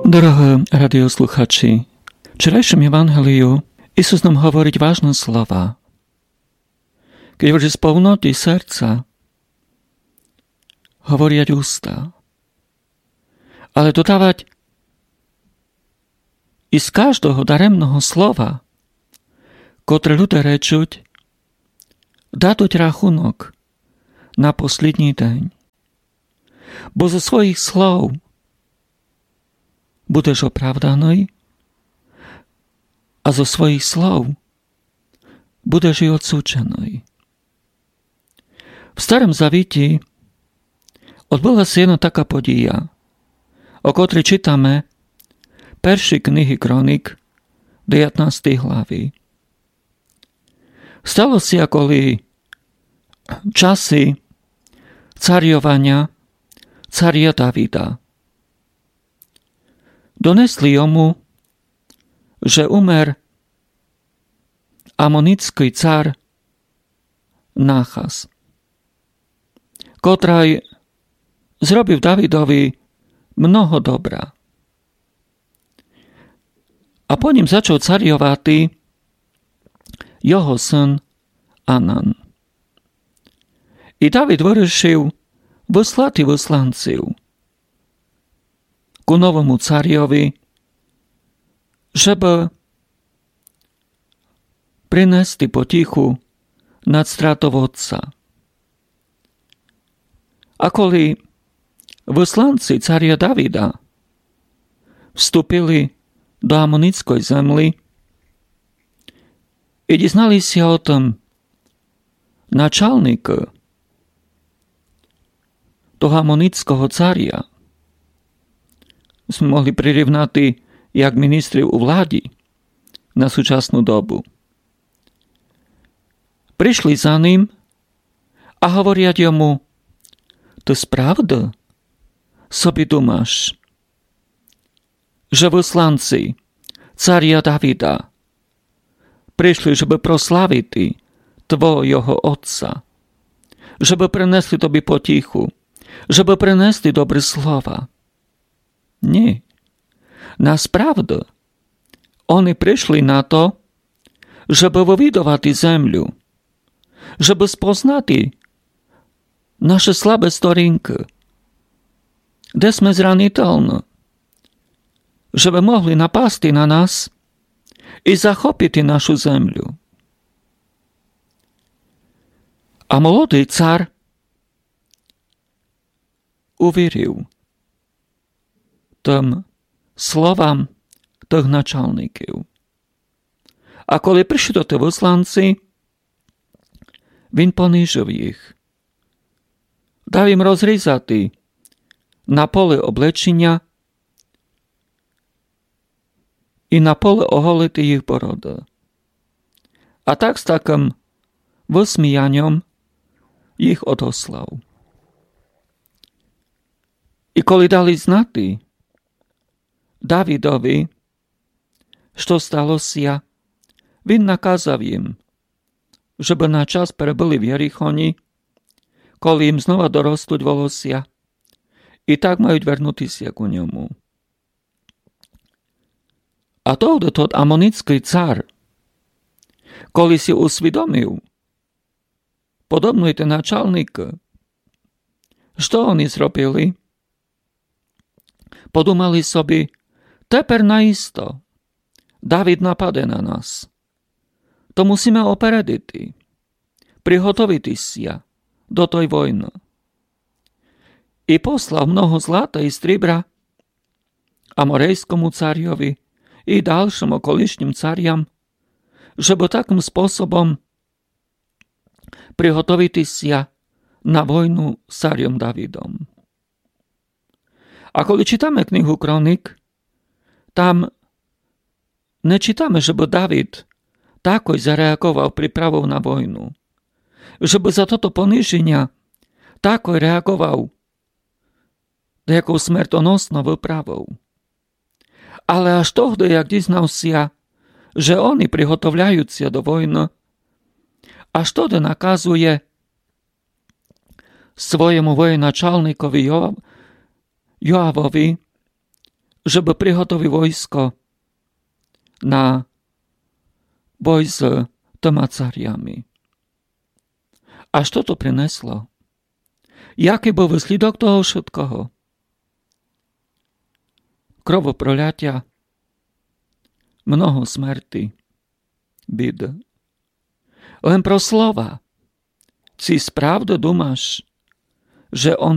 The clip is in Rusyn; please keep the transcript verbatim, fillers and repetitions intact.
Дорогы радіослухачі, в вчерайшым Євангелію Ісус нам говорить важны слова. Кедь вже з повноты серця говорять уста. Але додавать: із каждого даремного слова, котре люде речуть, дадуть рахунок на послідній день. Бо зо своїх слов будеш оправданый, а зо своїх слов будеш і одсудженый. В Старым Завіті одбыла ся єдна така подія, о котрій читаме в першій книзі Кронік, девятнастій главі. Стало ся, коли в часі царьованя царя Давида донесли йому, же умер амоніцькый цар Нахас, котрый зробив Давидови много добра. А по нім зачав царьовати його сын Анан. І Давид вырішив выслати высланців ку новому царьови, жебы принести потіху над стратов отца. А коли высланці царя Давида вступили до амоніцькой землі і дізнали ся о тым началникы того амоніцького царя, сьме могли прирівнати як міністрів у владі на сучасну добу, пришли за ним а говорять йому: Ты справды собі думаш, же высланці царя Давида пришли, жебы прославити твого отца, жебы принесли тобі потіху, жебы принесли добры слова? Ні. Насправды, они пришли на то, жебы вывідовати землю, жебы спознати наші слабі сторінкы, де сьме зранітельны, жебы могли напасти на нас і захопити нашу землю. А молодый цар увірив тым словам тых началників. А коли пришли тоты высланці, він понижив їх, дав їм розрізати на поле облеченя і на поле оголити їх бороды. А так з такым высміяньом їх одослав. І коли дали знати Давидови, што стало ся, він наказав їм, жебы на час перебыли в Єрихоні, коли їм знова доростуть волося, і так мають вернути ся ку ньому. А тогды тот амоніцькый цар, коли си усвідомив, подобно й ті началникы, што они зробили, подумали собі: Тепер наісто Давид нападе на нас. То мусиме опередити, приготовити ся до той войны. І послав много злата і стрібра аморейскому царьови і далшым околишнім царям, жебы такым способом приготовити ся на войну з царьом Давидом. А коли читаме книгу Кронік, там не читаме, жебы Давид такой зареаґовав приправов на войну, жебы за тото пониженя такой реаґовав даяку смертоносну выправов. Але аж тогды, як дізнав ся, же они приготовляють ся до войны, аж тогды наказує своєму воєначалникови Йоав-, Йоавови, жебы приготовіл войско на бой з тыма царями. А што то принесло? Якый быв выслідок того вшыткого? Кровопролятя, много смерти, біды. Лем про слова. Ци справды думаш, же они